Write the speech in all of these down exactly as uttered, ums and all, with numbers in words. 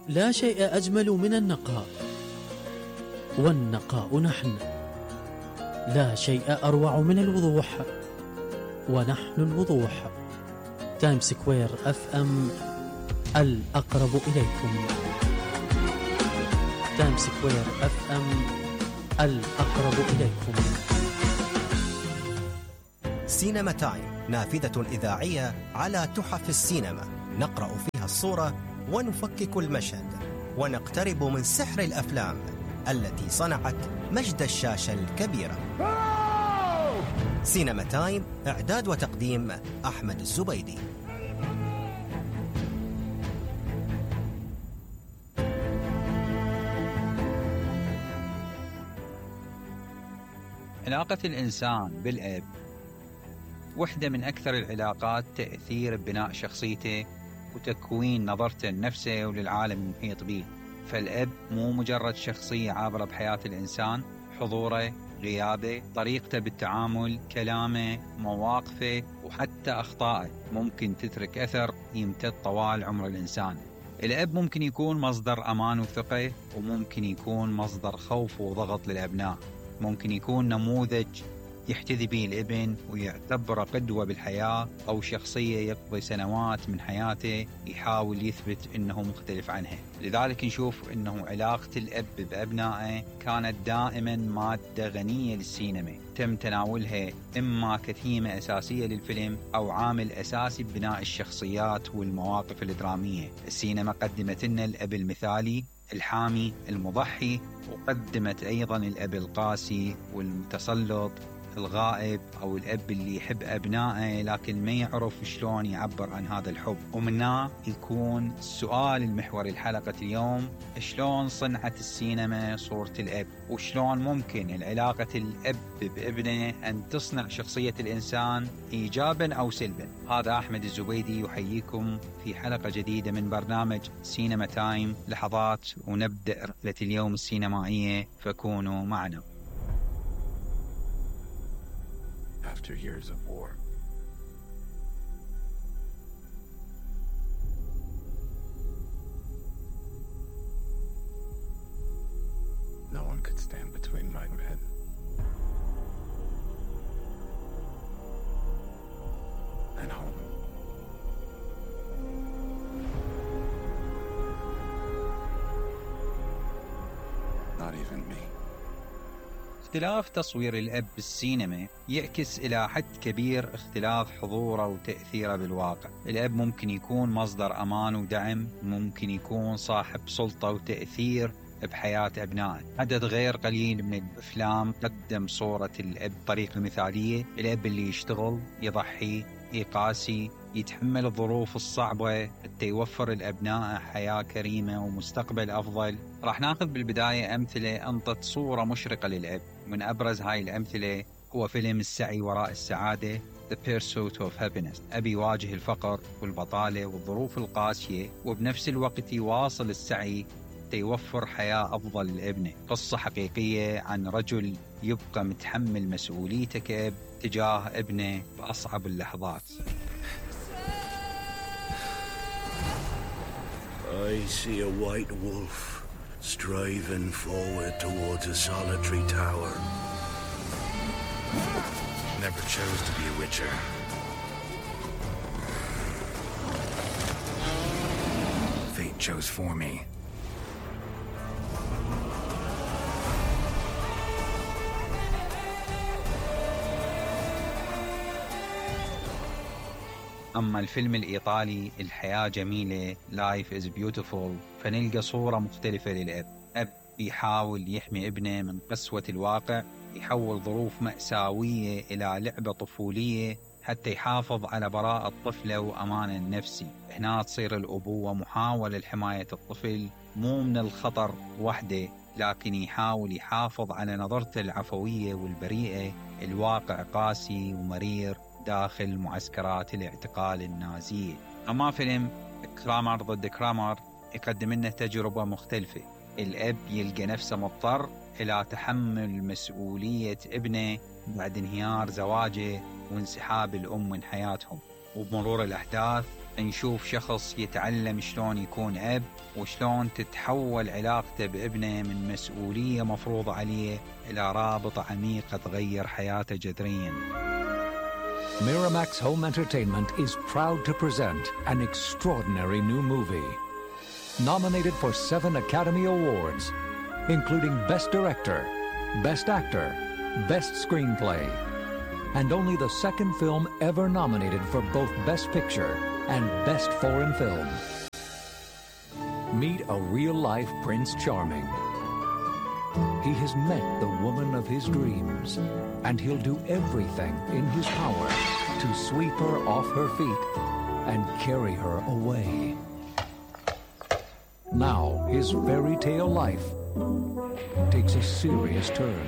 لا شيء أجمل من النقاء، والنقاء نحن. لا شيء أروع من الوضوح، ونحن الوضوح. تايم سكوير اف ام، الأقرب إليكم. تايم سكوير اف ام، الأقرب إليكم. سينما تايم، نافذة إذاعية على تحف السينما، نقرأ فيها الصورة ونفكك المشهد، ونقترب من سحر الأفلام التي صنعت مجد الشاشة الكبيرة. سينما تايم، إعداد وتقديم أحمد الزبيدي. علاقة الإنسان بالأب وحدة من أكثر العلاقات تأثير ببناء شخصيته وتكوين نظرته لنفسه وللعالم المحيط به. فالأب مو مجرد شخصية عابرة بحياة الإنسان، حضوره، غيابه، طريقته بالتعامل، كلامه، مواقفه وحتى أخطائه ممكن تترك أثر يمتد طوال عمر الإنسان. الأب ممكن يكون مصدر أمان وثقة، وممكن يكون مصدر خوف وضغط للأبناء. ممكن يكون نموذج يحتذي به الابن ويعتبره قدوة بالحياة، أو شخصية يقضي سنوات من حياته يحاول يثبت أنه مختلف عنها. لذلك نشوف أنه علاقة الأب بأبنائه كانت دائما مادة غنية للسينما، تم تناولها إما كثيمة أساسية للفيلم أو عامل أساسي ببناء الشخصيات والمواقف الدرامية. السينما قدمت لنا الأب المثالي، الحامي، المضحي، وقدمت أيضا الأب القاسي والمتسلط، الغائب، أو الأب اللي يحب أبنائه لكن ما يعرف شلون يعبر عن هذا الحب. ومنها يكون السؤال المحوري الحلقة اليوم: شلون صنعت السينما صورة الأب؟ وشلون ممكن العلاقة الأب بابنه أن تصنع شخصية الإنسان إيجابا أو سلبا؟ هذا أحمد الزبيدي يحييكم في حلقة جديدة من برنامج سينما تايم. لحظات ونبدأ رحلة اليوم السينمائية، فكونوا معنا. After years of war, no one could stand between my men and home. Not even me. اختلاف تصوير الأب بالسينما يعكس إلى حد كبير اختلاف حضوره وتأثيره بالواقع. الأب ممكن يكون مصدر أمان ودعم، ممكن يكون صاحب سلطة وتأثير بحياة أبنائه. عدد غير قليل من الأفلام قدم صورة الأب بطريقة مثالية، الأب اللي يشتغل، يضحي، يقاسي، يتحمل الظروف الصعبة حتى يوفر الأبناء حياة كريمة ومستقبل أفضل. راح ناخذ بالبداية أمثلة أنطت صورة مشرقة للأب. من أبرز هاي الأمثلة هو فيلم السعي وراء السعادة، The Pursuit of Happiness. أبي يواجه الفقر والبطالة والظروف القاسية، وبنفس الوقت يواصل السعي يوفر حياة أفضل لابنه. قصة حقيقية عن رجل يبقى متحمل مسؤوليته كأب تجاه ابنه بأصعب اللحظات. I see a white wolf striving forward towards a solitary tower. Never chose to be a witcher. Fate chose for me. أما الفيلم الإيطالي الحياة جميلة Life is Beautiful، فنلقى صورة مختلفة للأب. أب يحاول يحمي ابنه من قسوة الواقع، يحول ظروف مأساوية إلى لعبة طفولية حتى يحافظ على براءة طفله وأمانه النفسي. هنا تصير الأبوة محاولة لحماية الطفل مو من الخطر وحده، لكن يحاول يحافظ على نظرته العفوية والبريئة. الواقع قاسي ومرير داخل معسكرات الاعتقال النازية. أما فيلم كرامر ضد كرامر يقدم لنا تجربة مختلفة. الأب يلقى نفسه مضطر إلى تحمل مسؤولية ابنه بعد انهيار زواجه وانسحاب الأم من حياتهم. وبمرور الأحداث نشوف شخص يتعلم شلون يكون أب وشلون تتحول علاقته بابنه من مسؤولية مفروضة عليه إلى رابط عميق تغير حياته جذرياً. Miramax Home Entertainment is proud to present an extraordinary new movie. Nominated for seven Academy Awards, including Best Director, Best Actor, Best Screenplay, and only the second film ever nominated for both Best Picture and Best Foreign Film. Meet a real-life Prince Charming. He has met the woman of his dreams, and he'll do everything in his power to sweep her off her feet and carry her away. Now, his fairy tale life takes a serious turn.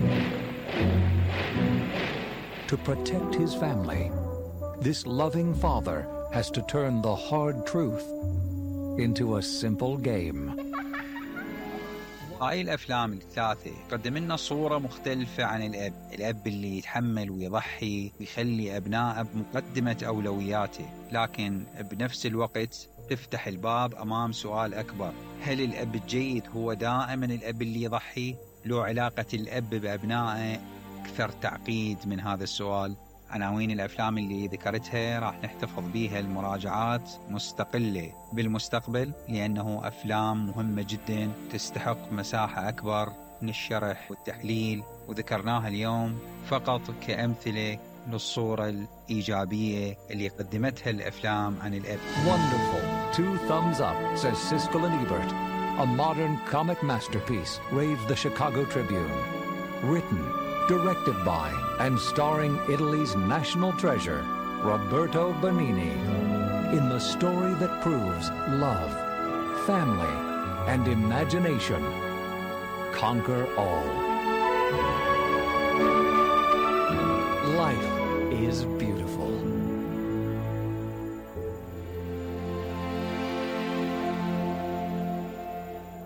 To protect his family, this loving father has to turn the hard truth into a simple game. هاي الأفلام الثلاثة قدم لنا صورة مختلفة عن الأب الأب اللي يتحمل ويضحي ويخلي أبنائه بمقدمة أولوياته، لكن بنفس الوقت تفتح الباب أمام سؤال أكبر: هل الأب الجيد هو دائما الأب اللي يضحي؟ لو علاقة الأب بأبنائه أكثر تعقيد من هذا السؤال؟ عناوين الأفلام اللي ذكرتها راح نحتفظ بيها المراجعات مستقلة بالمستقبل، لأنه أفلام مهمة جدا تستحق مساحة أكبر من الشرح والتحليل، وذكرناها اليوم فقط كأمثلة للصورة الإيجابية اللي قدمتها الأفلام عن الأب. Wonderful. Two thumbs up, says Siskel and Ebert. A modern comic masterpiece, raves the Chicago Tribune. Written, directed by, and starring Italy's national treasure, Roberto Benigni, in the story that proves love, family, and imagination conquer all. Life is beautiful.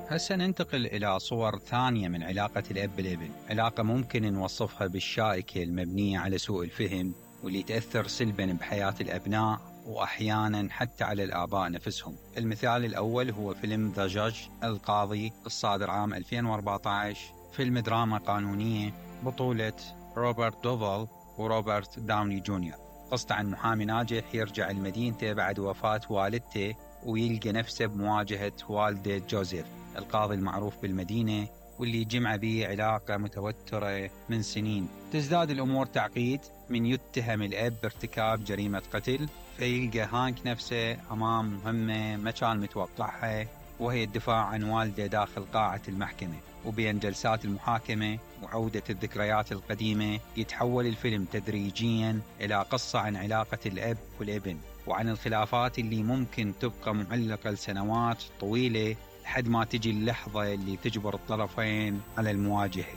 هسه ننتقل إلى صور ثانية من علاقة الأب بالابن، علاقة ممكن نوصفها بالشائكة المبنية على سوء الفهم، واللي تأثر سلباً بحياة الأبناء وأحياناً حتى على الآباء نفسهم. المثال الأول هو فيلم ذا جاج القاضي الصادر عام ألفين وأربعة عشر، فيلم دراما قانونية بطولة روبرت دوفال وروبرت داوني جونيور. قصة عن محامي ناجح يرجع لمدينته بعد وفاة والدته ويلقى نفسه بمواجهة والده جوزيف القاضي المعروف بالمدينة، واللي جمع به علاقة متوترة من سنين. تزداد الأمور تعقيد من يتهم الأب بارتكاب جريمة قتل، فيلقى هانك نفسه أمام مهمة ما كان متوقعها، وهي الدفاع عن والده داخل قاعة المحكمة. وبين جلسات المحاكمة وعودة الذكريات القديمة يتحول الفيلم تدريجياً إلى قصة عن علاقة الأب والابن، وعن الخلافات اللي ممكن تبقى معلقة لسنوات طويلة لحد ما تجي اللحظة اللي تجبر الطرفين على المواجهة.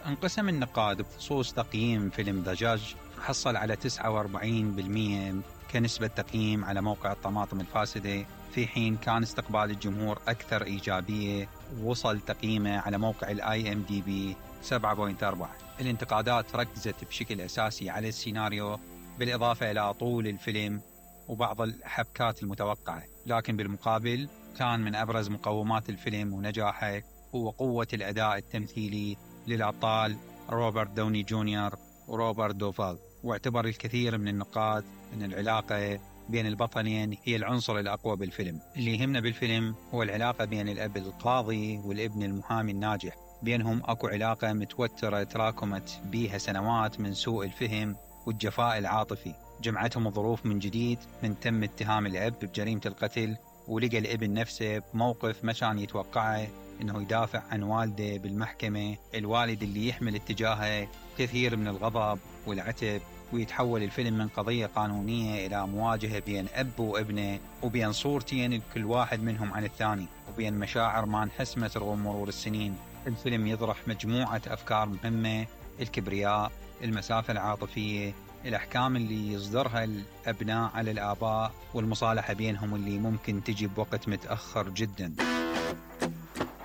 انقسم النقاد بخصوص تقييم فيلم ذا جاج، حصل على تسعة وأربعين بالمئة كنسبة تقييم على موقع الطماطم الفاسدة، في حين كان استقبال الجمهور أكثر إيجابية، ووصل تقييمه على موقع الآي إم دي بي سبعة فاصلة أربعة. الانتقادات ركزت بشكل أساسي على السيناريو بالإضافة إلى طول الفيلم وبعض الحبكات المتوقعة، لكن بالمقابل كان من أبرز مقومات الفيلم ونجاحه هو قوة الأداء التمثيلي للأبطال روبرت داوني جونيور وروبرت دوفال. واعتبر الكثير من النقاد أن العلاقة بين البطلين هي العنصر الأقوى بالفيلم. اللي يهمنا بالفيلم هو العلاقة بين الأب القاضي والابن المحامي الناجح، بينهم أكو علاقة متوترة تراكمت بيها سنوات من سوء الفهم والجفاء العاطفي، جمعتهم الظروف من جديد من تم اتهام الأب بجريمة القتل، ولقى الابن نفسه بموقف ما كان يتوقعه انه يدافع عن والده بالمحكمة، الوالد اللي يحمل اتجاهه كثير من الغضب والعتب، ويتحول الفيلم من قضية قانونية إلى مواجهة بين أب وابنه، وبين صورتين كل واحد منهم عن الثاني، وبين مشاعر ما انحسمت رغم مرور السنين. الفيلم يطرح مجموعة أفكار مهمة: الكبرياء، المسافة العاطفية، الأحكام اللي يصدرها الأبناء على الآباء، والمصالحة بينهم اللي ممكن تجي بوقت متأخر جدا.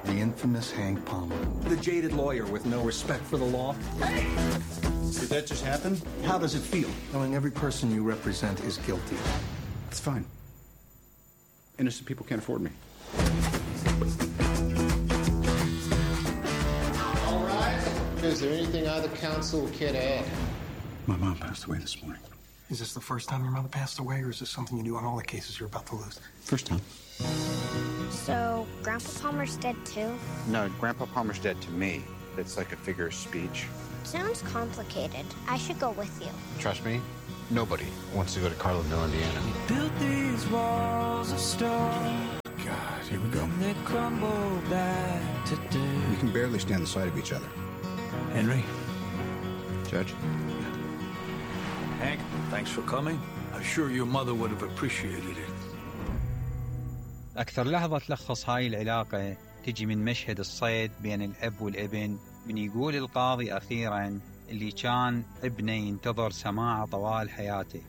The infamous Hank Palmer. The jaded lawyer with no respect for the law. Hey! Did that just happen? How does it feel? Knowing every person you represent is guilty. It's fine. Innocent people can't afford me. All right. Is there anything either counsel or care to add? My mom passed away this morning. Is this the first time your mother passed away, or is this something you do on all the cases you're about to lose? First time. So, Grandpa Palmer's dead too? No, Grandpa Palmer's dead to me. It's like a figure of speech. Sounds complicated. I should go with you. Trust me, nobody wants to go to Carlinville, Indiana. Built these walls of stone. God, here we go. And they crumble back today. We can barely stand the sight of each other. Henry? Judge? Hank, thanks for coming. I'm sure your mother would have appreciated it. أكثر لحظة تلخص هاي العلاقة تجي من مشهد الصيد بين الأب والابن، من يقول القاضي أخيراً اللي كان ابنه ينتظر سماعه طوال حياته: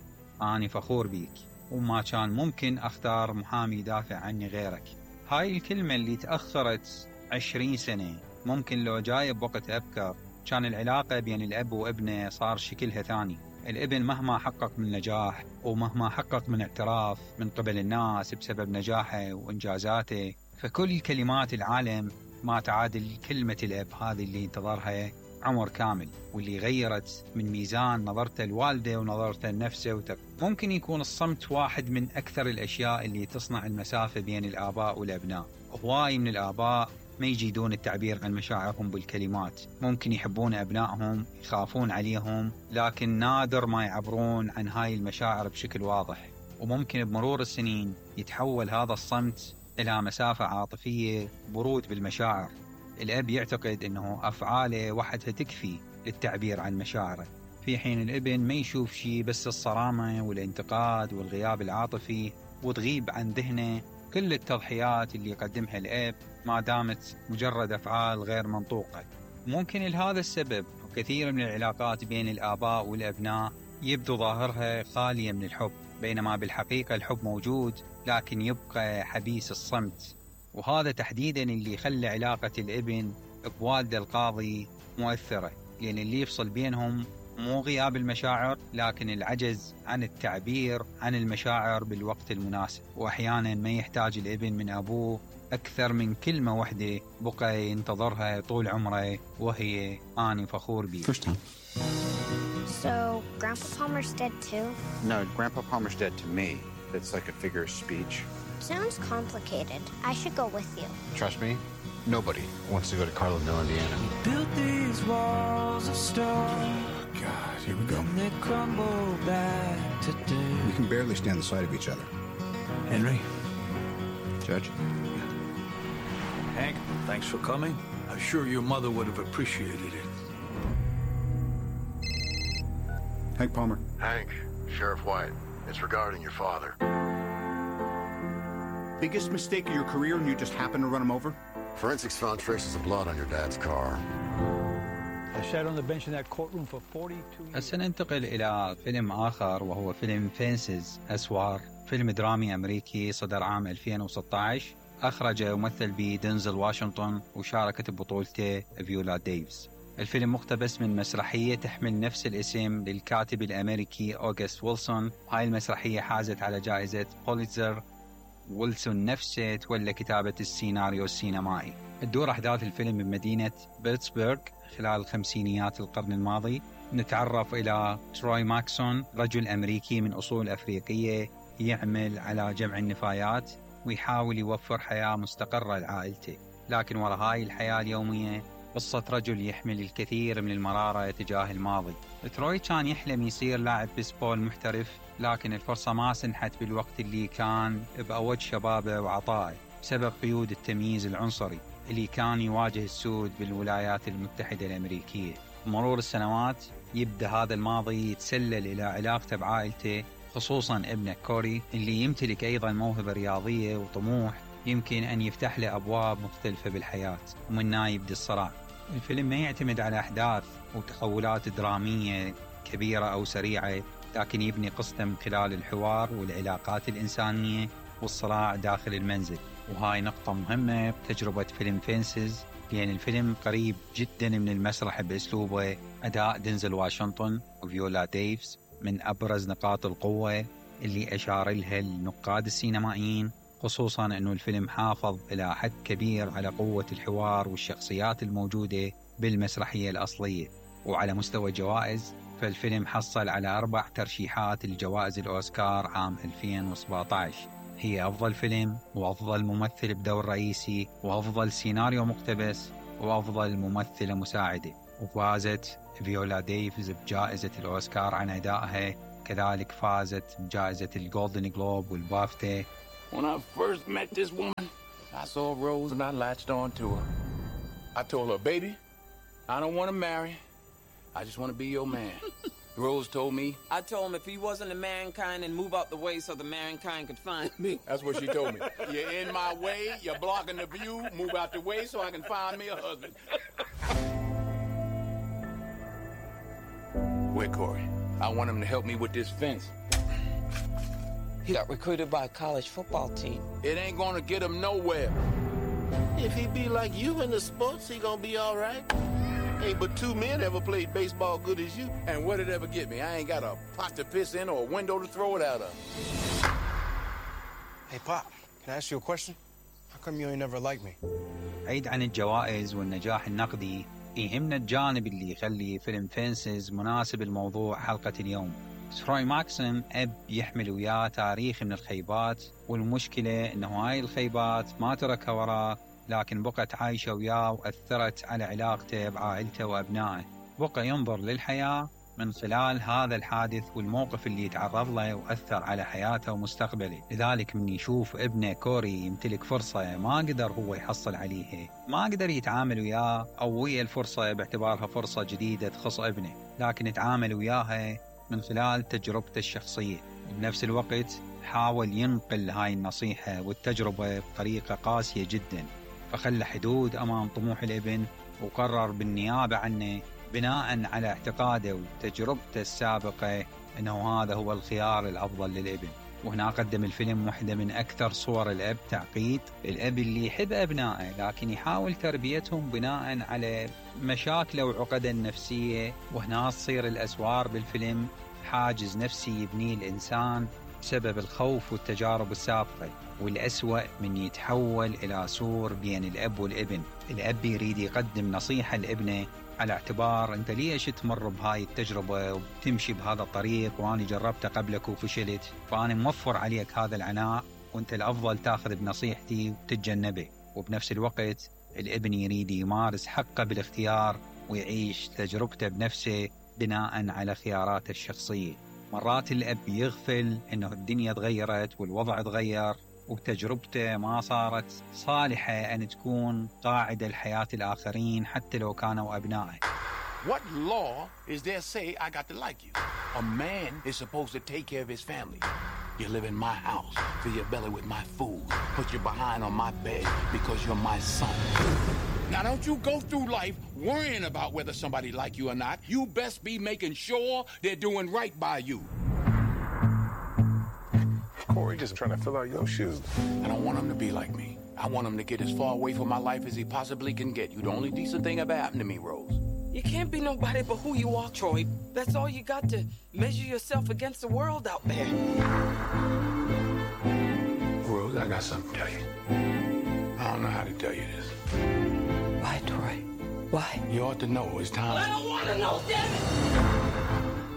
أنا فخور بيك، وما كان ممكن أختار محامي يدافع عني غيرك. هاي الكلمة اللي تأخرت عشرين سنة، ممكن لو جاي بوقت أبكر كان العلاقة بين الأب وابنه صار شكلها ثاني. الابن مهما حقق من نجاح ومهما حقق من اعتراف من قبل الناس بسبب نجاحه وإنجازاته، فكل كلمات العالم ما تعادل كلمة الأب هذه اللي انتظرها عمر كامل، واللي غيرت من ميزان نظرته الوالدة ونظرته لنفسه وتق... ممكن يكون الصمت واحد من أكثر الأشياء اللي تصنع المسافة بين الآباء والأبناء. هواي من الآباء ما يجيدون التعبير عن مشاعرهم بالكلمات، ممكن يحبون أبنائهم، يخافون عليهم، لكن نادر ما يعبرون عن هاي المشاعر بشكل واضح. وممكن بمرور السنين يتحول هذا الصمت إلى مسافة عاطفية، برود بالمشاعر. الأب يعتقد أنه أفعاله وحدها تكفي للتعبير عن مشاعره، في حين الابن ما يشوف شيء بس الصرامة والانتقاد والغياب العاطفي، وتغيب عن ذهنه كل التضحيات اللي يقدمها الأب ما دامت مجرد أفعال غير منطوقة. ممكن لهذا السبب كثير من العلاقات بين الآباء والأبناء يبدو ظاهرها خالية من الحب، بينما بالحقيقة الحب موجود لكن يبقى حبيس الصمت. وهذا تحديدا اللي خلى علاقة الابن بوالده القاضي مؤثرة، لأن اللي يفصل بينهم مو غياب المشاعر لكن العجز عن التعبير عن المشاعر بالوقت المناسب. وأحيانا ما يحتاج الابن من أبوه أكثر من كلمة واحدة بقى ينتظرها طول عمره، وهي أنا فخور بيك. First time. So, Grandpa Palmer's dead too? No, Grandpa Palmer's dead to me. It's like a figure of speech. Sounds complicated. I should go with you. Trust me, nobody wants to go to Carlinville, Indiana. Built these walls of stone. God, here we go. And they crumble back today. We can barely stand the sight of each other. Henry? Judge? Hank, thanks for coming. I'm sure your mother would have appreciated it. Hank Palmer. Hank, Sheriff White. It's regarding your father. Biggest mistake of your career and you just happened to run him over? Forensics found traces of blood on your dad's car. I sat on the bench in that courtroom for forty-two years. هسه ننتقل إلى فيلم آخر وهو فيلم فينسز أسوار، فيلم درامي أمريكي صدر عام ألفين وستة عشر، أخرجه ومثل به دينزل واشنطن وشاركت ببطولته فيولا ديفيس. الفيلم مقتبس من مسرحية تحمل نفس الاسم للكاتب الأمريكي أوغست ويلسون. هاي المسرحية حازت على جائزة بوليتزر. ويلسون نفسه تولى كتابة السيناريو السينمائي. تدور أحداث الفيلم بمدينة بيتسبرغ خلال خمسينيات القرن الماضي. نتعرف إلى تروي ماكسون، رجل أمريكي من أصول أفريقية يعمل على جمع النفايات ويحاول يوفر حياة مستقرة لعائلته، لكن وراء هاي الحياة اليومية قصة رجل يحمل الكثير من المرارة تجاه الماضي. تروي كان يحلم يصير لاعب بيسبول محترف، لكن الفرصة ما سنحت بالوقت اللي كان بأوج شبابه وعطائه بسبب قيود التمييز العنصري اللي كان يواجه السود بالولايات المتحدة الأمريكية. مرور السنوات يبدأ هذا الماضي يتسلل إلى علاقته بعائلته، خصوصا ابنه كوري اللي يمتلك أيضا موهبة رياضية وطموح يمكن أن يفتح له أبواب مختلفة بالحياة، ومنها يبدأ الصراع. الفيلم ما يعتمد على أحداث وتحولات درامية كبيرة أو سريعة، لكن يبني قصته من خلال الحوار والعلاقات الإنسانية والصراع داخل المنزل. وهاي نقطة مهمة بتجربة فيلم فينسز، لأن الفيلم قريب جدا من المسرح بأسلوبه. أداء دينزل واشنطن وفيولا ديفيس من أبرز نقاط القوة اللي أشار لها النقاد السينمائيين، خصوصا أنه الفيلم حافظ إلى حد كبير على قوة الحوار والشخصيات الموجودة بالمسرحية الأصلية. وعلى مستوى الجوائز فالفيلم حصل على أربع ترشيحات لجوائز الأوسكار عام ألفين وسبعة عشر، هي أفضل فيلم وأفضل ممثل بدور رئيسي وأفضل سيناريو مقتبس وأفضل ممثلة مساعدة. وفازت فيولا ديفيز بجائزة الأوسكار عن أدائها، كذلك فازت بجائزة الجولدن جلوب والبافتا. When I first met this woman, I saw Rose and I latched on to her. I told her, baby, I don't want to marry. I just want to be your man. Rose told me. I told him if he wasn't a mankind, and move out the way so the mankind could find me. That's what she told me. You're in my way, you're blocking the view, move out the way so I can find me a husband. Where Corey? I want him to help me with this fence. He got recruited by a college football team. It ain't gonna get him nowhere. If he be like you in the sports, he gonna be all right. Ain't but two men ever played baseball good as you. And what did it ever get me? I ain't got a pot to piss in or a window to throw it out of. Hey, Pop, can I ask you a question? How come you ain't never liked me? بعيد عن الجوائز والنجاح النقدي، يهمنا الجانب اللي يخلي فيلم فينسز مناسب لموضوع حلقة اليوم. تروي ماكسيم أب يحمل وياه تاريخ من الخيبات، والمشكلة إنه هاي الخيبات ما تركها وراه، لكن بقت عايشة وياه وأثرت على علاقته بعائلته وأبنائه. بقى ينظر للحياة من خلال هذا الحادث والموقف اللي يتعرض له وأثر على حياته ومستقبله. لذلك من يشوف ابنه كوري يمتلك فرصة ما قدر هو يحصل عليها، ما قدر يتعامل وياه أو ويا الفرصة باعتبارها فرصة جديدة تخص ابنه، لكن يتعامل وياها من خلال تجربته الشخصية. بنفس الوقت حاول ينقل هاي النصيحة والتجربة بطريقة قاسية جدا، فخلى حدود أمام طموح الابن وقرر بالنيابة عنه بناء على اعتقاده وتجربته السابقة أنه هذا هو الخيار الأفضل للابن. وهنا قدم الفيلم واحدة من أكثر صور الأب تعقيد، الأب اللي يحب أبنائه لكن يحاول تربيتهم بناء على مشاكله وعقده النفسية. وهنا تصير الأسوار بالفيلم حاجز نفسي يبنيه الإنسان بسبب الخوف والتجارب السابقة، والأسوأ من يتحول إلى سور بين الأب والابن. الأب يريد يقدم نصيحة لابنه على اعتبار أنت ليش تمر بهاي التجربة وتمشي بهذا الطريق وأنا جربته قبلك وفشلت، فأنا موفر عليك هذا العناء وأنت الأفضل تأخذ بنصيحتي وتتجنبه. وبنفس الوقت الابن يريد يمارس حقه بالاختيار ويعيش تجربته بنفسه بناء على خياراته الشخصية. مرات الأب يغفل أنه الدنيا تغيرت والوضع تغير وتجربته ما صارت صالحة أن تكون قاعدة لحياة الآخرين حتى لو كانوا أبنائه. What law is there say I got to like you? A man is supposed to take care of his family. You live in my house, fill your belly with my food, put your behind on my bed because you're my son. Now don't you go through life worrying about whether somebody like you or not. You best be making sure they're doing right by you. Corey just trying to fill out your shoes. I don't want him to be like me. I want him to get as far away from my life as he possibly can get. You the only decent thing ever happened to me, Rose. You can't be nobody but who you are, Troy. That's all you got to measure yourself against the world out there. Rose, I got something to tell you. I don't know how to tell you this. Why, Troy? Why? You ought to know it's time. I don't want to know, damn it!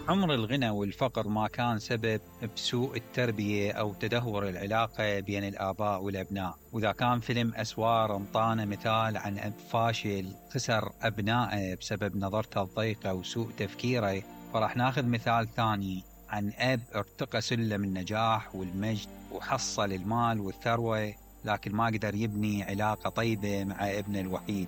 عمر الغنى والفقر ما كان سبب بسوء التربية أو تدهور العلاقة بين الآباء والأبناء. وإذا كان فيلم أسوار انطانا مثال عن أب فاشل خسر أبنائه بسبب نظرته الضيقة وسوء تفكيره، فراح ناخذ مثال ثاني عن أب ارتقى سلم النجاح والمجد وحصل المال والثروة لكن ما قدر يبني علاقة طيبة مع ابنه الوحيد.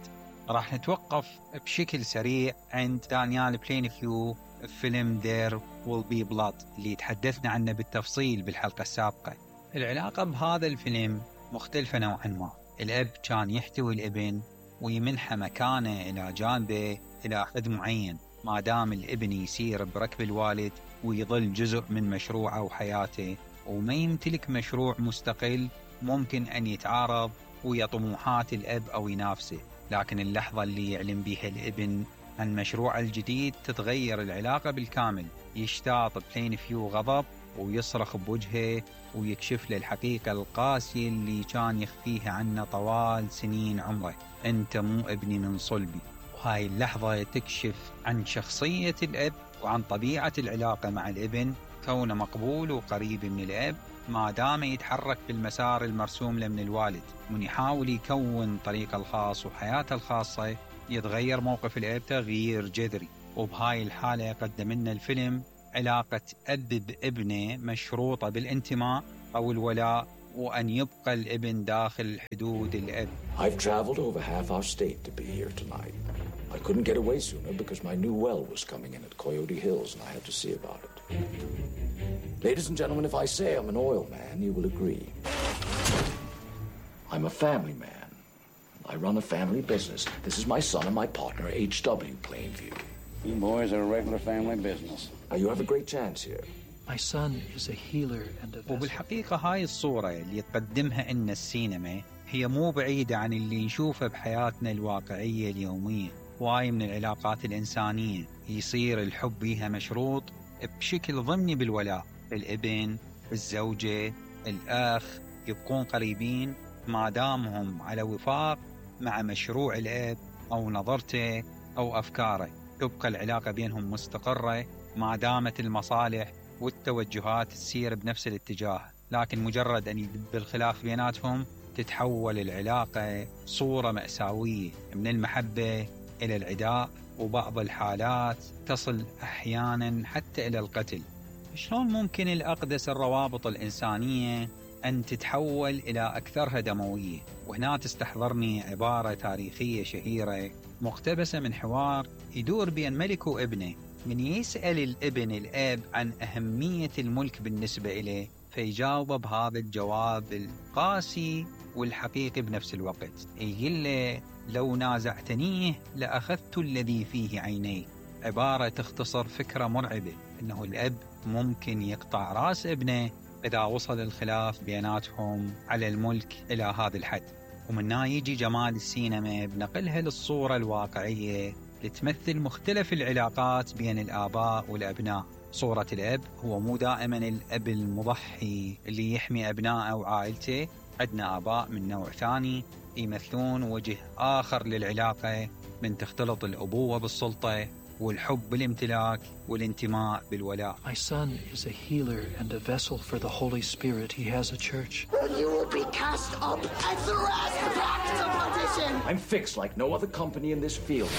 راح نتوقف بشكل سريع عند دانيال بلينفيو فيلم There Will Be Blood اللي تحدثنا عنه بالتفصيل بالحلقة السابقة. العلاقة بهذا الفيلم مختلفة نوعا ما. الأب كان يحتوي الابن ويمنحه مكانه إلى جانبه إلى حد معين ما دام الابن يسير بركب الوالد ويظل جزء من مشروعه وحياته وما يمتلك مشروع مستقل ممكن أن يتعارض ويا طموحات الأب أو ينافسه. لكن اللحظة اللي يعلم بها الابن عن مشروعه الجديد تتغير العلاقة بالكامل. يشتاط بلينفيو غضب ويصرخ بوجهه ويكشف له الحقيقة القاسية اللي كان يخفيها عنه طوال سنين عمره: أنت مو ابني من صلبي. وهاي اللحظة تكشف عن شخصية الأب وعن طبيعة العلاقة مع الابن، كونه مقبول وقريب من الأب ما دام يتحرك بالمسار المرسوم له من الوالد، من يحاول يكون طريقه الخاص وحياته الخاصة يتغير موقف الأب تغيير جذري. وبهاي الحالة قدم لنا الفيلم علاقة أب بابنه مشروطة بالانتماء أو الولاء، وأن يبقى الابن داخل حدود الأب. I've traveled over half our state to be here tonight. I couldn't get away sooner because my new well was coming in at Coyote Hills and I had to see about it. Ladies and gentlemen, if I say I'm an oil man, you will agree. I'm a family man. I run a family business. This is my son and my partner, H W Plainview. You boys are a regular family business. Now, you have a great chance here. My son is a healer and a vessel. وبالحقيقة هاي الصورة اللي تقدمها إن السينما هي مو بعيدة عن اللي نشوفه بحياتنا الواقعية اليومية. واي من العلاقات الإنسانية يصير الحب بيها مشروط بشكل ضمني بالولاء. الابن، الزوجة، الأخ يبقون قريبين ما دامهم على وفاق مع مشروع الأب أو نظرته أو أفكاره. تبقى العلاقة بينهم مستقرة ما دامت المصالح والتوجهات تسير بنفس الاتجاه، لكن مجرد أن يدب الخلاف بيناتهم تتحول العلاقة صورة مأساوية من المحبة إلى العداء، وبعض الحالات تصل أحيانا حتى إلى القتل. شلون ممكن الأقدس الروابط الإنسانية أن تتحول إلى أكثرها دموية؟ وهنا تستحضرني عبارة تاريخية شهيرة مقتبسة من حوار يدور بين ملك وابنه، من يسأل الابن الأب عن أهمية الملك بالنسبة إليه فيجاوب بهذا الجواب القاسي والحقيقي بنفس الوقت. يقول له: لو نازعتنيه لأخذت الذي فيه عيني. عبارة تختصر فكرة مرعبة أنه الأب ممكن يقطع رأس ابنه إذا وصل الخلاف بيناتهم على الملك إلى هذا الحد. ومن هنا يجي جمال السينما بنقلها للصورة الواقعية لتمثل مختلف العلاقات بين الآباء والأبناء. صورة الأب هو مو دائما الأب المضحي اللي يحمي أبنائه وعائلته. عندنا آباء من نوع ثاني يمثلون وجه آخر للعلاقة، من تختلط الأبوة بالسلطة والحب بالامتلاك والانتماء بالولاء. My son is a healer and a vessel for the Holy Spirit. He has a church. You will be cast up and thrust back to perdition. I'm fixed like no other company in this field.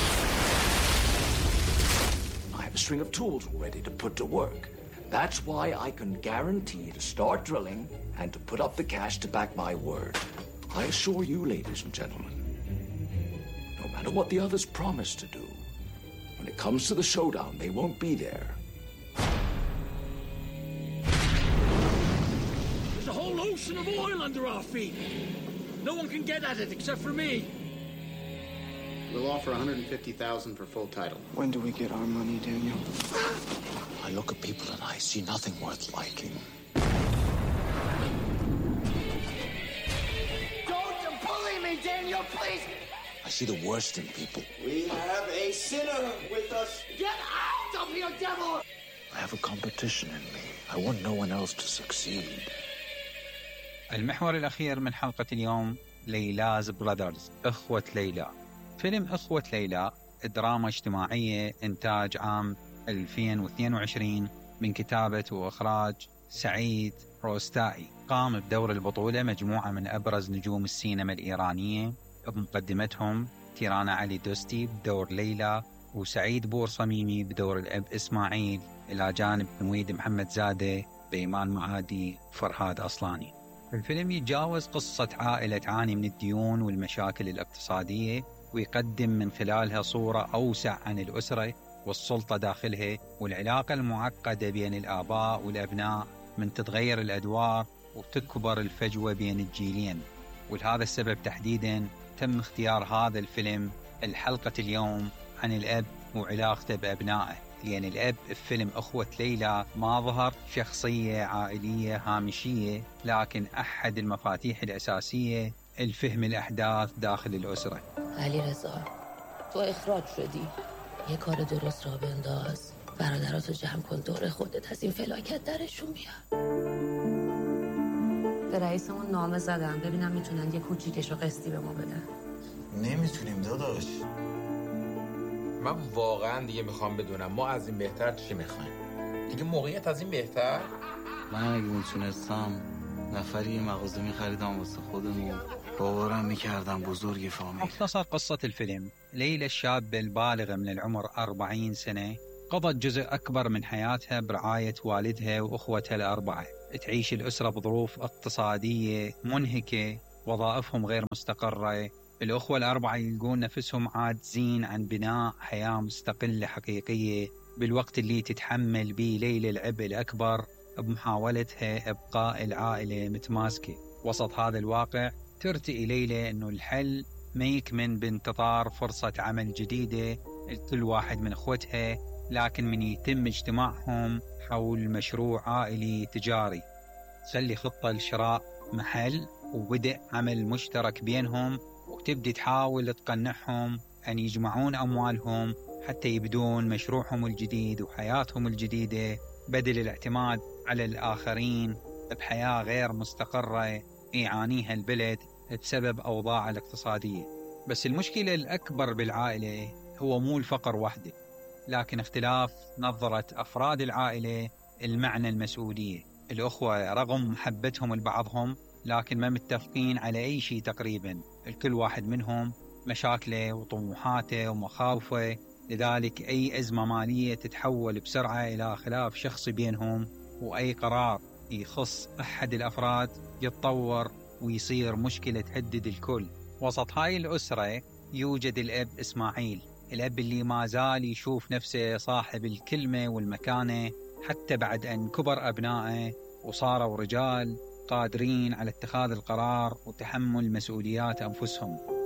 I have a string of tools ready to put to work. That's why I can guarantee to start drilling and to put up the cash to back my word. I assure you, ladies and gentlemen, no matter what the others promise to do, when it comes to the showdown, they won't be there. There's a whole ocean of oil under our feet. No one can get at it except for me. We'll offer one hundred fifty thousand dollars for full title. When do we get our money, Daniel? I look at people and I see nothing worth liking. Don't bully me, Daniel, please. I see the worst in people. We have a sinner with us. Get out of here, devil! I have a competition in me. I want no one else to succeed. المحور الأخير من حلقة اليوم ليلاز براذرز، إخوة ليلى. فيلم إخوة ليلى دراما اجتماعية إنتاج عام ألفين واثنين وعشرين من كتابة وإخراج سعيد روستائي. قام بدور البطولة مجموعة من أبرز نجوم السينما الإيرانية بمقدمتهم تيرانا علي دوستي بدور ليلى، وسعيد بور صميمي بدور الأب إسماعيل، إلى جانب نويد محمد زادة، بيمان معادي، فرهاد أصلاني. الفيلم يتجاوز قصة عائلة تعاني من الديون والمشاكل الاقتصادية، ويقدم من خلالها صورة أوسع عن الأسرة والسلطة داخلها والعلاقة المعقدة بين الآباء والأبناء من تتغير الأدوار وتكبر الفجوة بين الجيلين. ولهذا السبب تحديدا تم اختيار هذا الفيلم الحلقة اليوم عن الأب وعلاقته بأبنائه، لأن الأب في فيلم أخوة ليلى ما ظهر شخصية عائلية هامشية، لكن أحد المفاتيح الأساسية الفهم الأحداث داخل الأسرة. علی رضا، تو اخراج شدی. یه کار درست را بنداز. برادراتو جمع کن دور خودت، از این فلاکت درشون بیار. به رئیسمون نامه زدم ببینم میتونن یه کوچیکشو قسطی به ما بدن. نمیتونیم داداش. من واقعا دیگه میخوام بدونم ما از این بهتر چی میخوایم؟ دیگه موقعیت از این بهتر؟ من اگه میتونستم نفری یه مغازه میخریدم واسه خودم و باورم میکردم بزرگ فامیل. مختصر قصة الفيلم: ليلى الشابة البالغة من العمر أربعين سنة قضت جزء أكبر من حياتها برعاية والدها وأخوتها الأربعة. تعيش الأسرة بظروف اقتصادية منهكة، وظائفهم غير مستقرة. الأخوة الأربعة يلقون نفسهم عاجزين عن بناء حياة مستقلة حقيقية، بالوقت اللي تتحمل به ليلى العبء الأكبر بمحاولتها إبقاء العائلة متماسكة. وسط هذا الواقع ترتئي ليلى أنه الحل ما يكمن بانتظار فرصة عمل جديدة لكل واحد من أخوتها، لكن من يتم اجتماعهم حول مشروع عائلي تجاري. تخلي خطة لشراء محل وبدء عمل مشترك بينهم، وتبدي تحاول تقنعهم أن يجمعون أموالهم حتى يبدون مشروعهم الجديد وحياتهم الجديدة، بدل الاعتماد على الآخرين بحياة غير مستقرة يعانيها البلد بسبب أوضاع الاقتصادية. بس المشكلة الأكبر بالعائلة هو مو الفقر وحده، لكن اختلاف نظرة أفراد العائلة المعنى المسؤولية. الأخوة رغم محبتهم لبعضهم لكن ما متفقين على أي شيء تقريبا. الكل واحد منهم مشاكله وطموحاته ومخاوفه، لذلك أي أزمة مالية تتحول بسرعة إلى خلاف شخصي بينهم، وأي قرار يخص أحد الأفراد يتطور ويصير مشكلة تهدد الكل. وسط هاي الأسرة يوجد الأب إسماعيل، الأب اللي ما زال يشوف نفسه صاحب الكلمة والمكانة حتى بعد أن كبر أبنائه وصاروا رجال قادرين على اتخاذ القرار وتحمل مسؤوليات أنفسهم.